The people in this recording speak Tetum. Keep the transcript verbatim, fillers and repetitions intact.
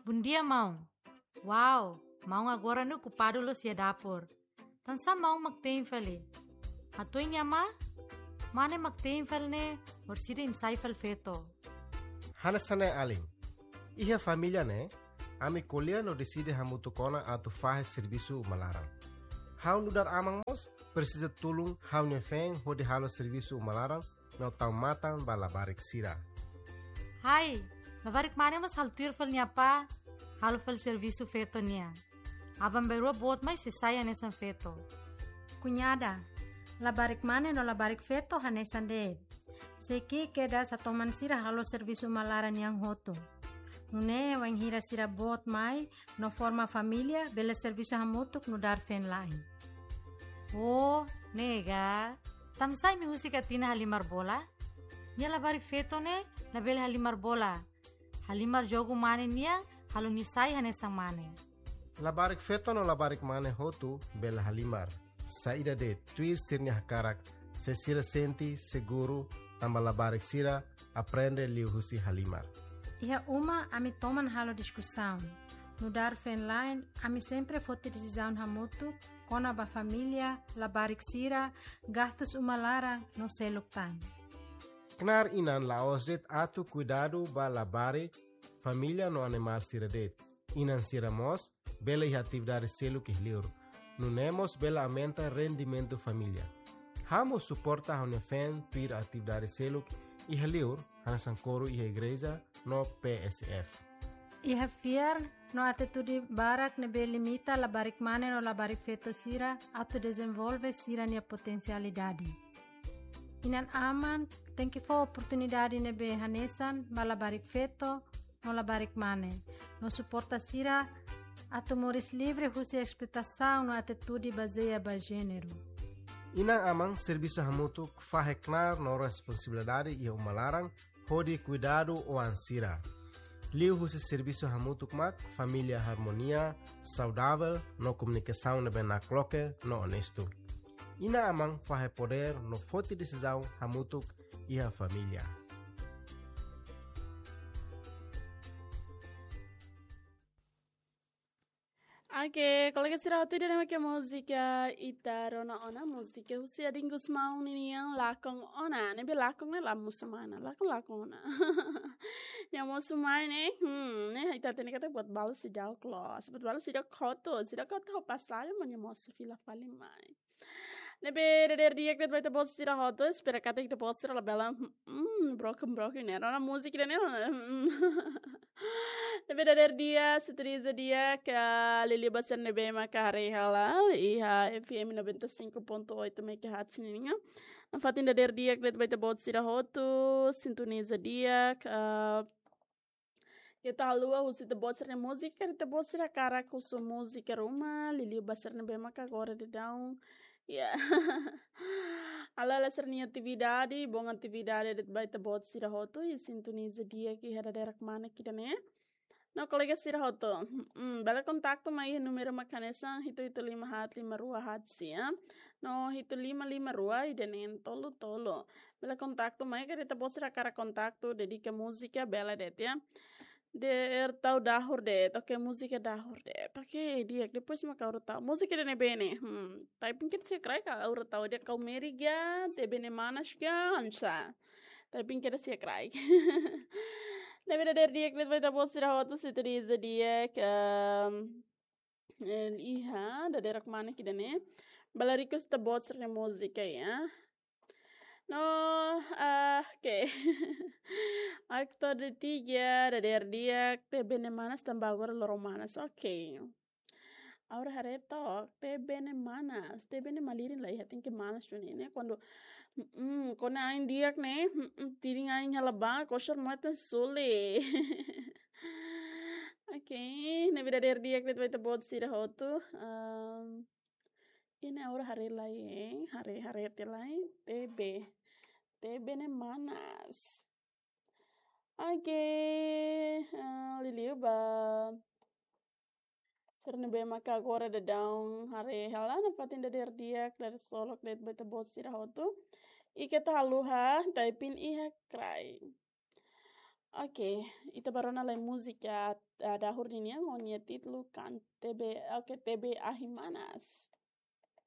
Bondia, maun. Wow, maun agora ne'e okupadu loos iha dapur. Tansá maun mak tein fali? Hatuan nia amá? Mane mak tein fali ne'e, orsida imi sai fali feto. Hanesan ne'e alin. Iha família ne'e, ami ko'alia no deside hamutuk ona atu fahe servisu uma laran. Ha'u nu'udar aman mós presiza tulun ha'u-nia feen hodi halo servisu uma laran no tau matan ba labarik sira. Hai, labarik mane mós halo tuir fali nia apá, halo fali servisu feto nian. Aban-bainrua boot mai sei sai hanesan feto. Kuñada, labarik mane no labarik feto hanesan de'it. Sei ki'ik kedas atu toman sira halo servisu uma laran nian hotu. Nune'e wainhira sira boot mai no forma família, bele servisu hamutuk nu'udar feen-la'en. Oh, ne'e ka. Tansá imi husik Atina halimar bola? Nia labarik feto ne'e labele halimar bola. Halimar jogu mane nian, halo nia sai hanesan mane. Labarik feto no labarik mane hotu bele halimar. Saida de'it, tuir sira-nia hakarak, se sira sente seguru, tanba labarik sira aprende liuhusi halimar. Iha uma ami toman halo diskusaun. Nu'udar feen-la'en, ami sempre foti desizaun hamutuk kona-ba família, labarik sira, gastus uma laran no seluk tan. Knaar inan la'ós de'it atu kuidadu ba labarik, família no animál sira de'it. Inan sira mós bele iha atividade seluk iha li'ur. Nune'e mós bele aumenta rendimentu família. Ha'u mós suporta ha'u-nia feen tuir atividade seluk iha li'ur, hanesan koru iha igreja no P S F. Iha fiar no atitude barak ne'ebé limita labarik mane no labarik feto sira atu dezenvolve sira-nia potensialidade. Inan-aman tenke fó oportunidade ne'ebé hanesan ba labarik feto no labarik mane, no suporta sira atu moris livre husi esploitasaun no atitude bazeia ba jéneru. Inan-aman servisu hamutuk fahe knaar no responsabilidade iha uma laran hodi kuidadu oan sira. Liuhusi servisu hamutuk mak família harmonia, saudavel no komunikasaun ne'ebé nakloke no onestu. Inan-aman fahe podér no foti desizaun hamutuk iha família. Oke, kolega sira hotu, ida-ne'e mak múzika Ita Rona Ona, múzika husi Adin Gusmão ninian, Lakon Ona. Ne'ebé lakon ne'e la mosu mai ona, lakon, lakon ona. Nia mosu mai ne'e, hmm, ne'e ita hatene katak buat balu seidauk loos, buat balu seidauk hotu, seidauk hotu ho pasaje, mas nia mosu fila fali mai. Ne'ebé dadeer di'ak de'it ba ita-boot sira hotu, espera katak ita-boot sira labele, hmm, broken, broken ne'e. Rona múzika ida-ne'e, hmm. Ne'ebé dadeer di'ak, sintoniza di'ak, liuliu ba sira ne'ebé maka haree hela iha F M noventa e cinco ponto oito megahertz nian. Nafatin dadeer di'ak de'it ba ita-boot sira hotu, sintoniza di'ak, ah, ita haluha husu ita-boot sira-nia múzika, karik ita-boot sira hakarak husu múzika ruma, liuliu ba sira ne'ebé maka agora daudaun. Ya. Halo hela sira-nia atividade, bom atividade de'it ba ita-boot sira hotu, i sintoniza di'ak iha dadeer-mane ida-ne'e. No kolega sira hotu, hmm, bele kontaktu mai iha númeru mak hanesan hitu hitu lima haat lima rua haat sia, no hitu lima lima rua ida-ne'e tolu tolu. Bele kontaktu mai, karik ita-boot sira hakarak kontaktu, dedika múzika, bele de'it ya. Dadeer tau dahur de'it, oke, múzika dahur de'it, oke, di'ak, depois maka ha'u tau múzika ida-ne'ebé ne'e, hmm, tapi mungkin sira kraik ha'u tau de'it, Kau Meri ka, Tebe Ne'e Manas ka, hanesan. Tapi mungkin sira kraik. Ne'ebé dadeer di'ak de'it ba ita-boot sira hotu, sintoniza di'ak, em, iha dadeer-mane ida-ne'e. Bele request ita-boot sira-nia múzika ya. No, ah, oke. Aktor de tiga, dadeer di'ak, Tebe Ne'e Manas tanba agora loron manas. Oke. Ha'u haree took, Tebe Ne'e Manas, Tebe ne'e malirin la iha, tenke manas duni ne'e. Kuandu, mm, kuandu ain di'ak ne'e, mm, tirin ain hela ba, kosar matan suli. Oke, ne'ebé dadeer di'ak de'it ba ita-boot sira hotu. Em, ne'e ha'u haree lai, eh, haree, haree tiha lai, Tebe. Tebe Ne'e Manas. Oke, eh, liuliu ba sira ne'ebé maka agora daudaun haree hela, nafatin dadeer di'ak, dadeer solok de'it ba ita-boot sira hotu. I keta haluha, tapi iha kraik. Oke, ita bá rona lai múzika, ah, dahur ninian ho nia títulu kan T B, oke, T B Ahi Manas.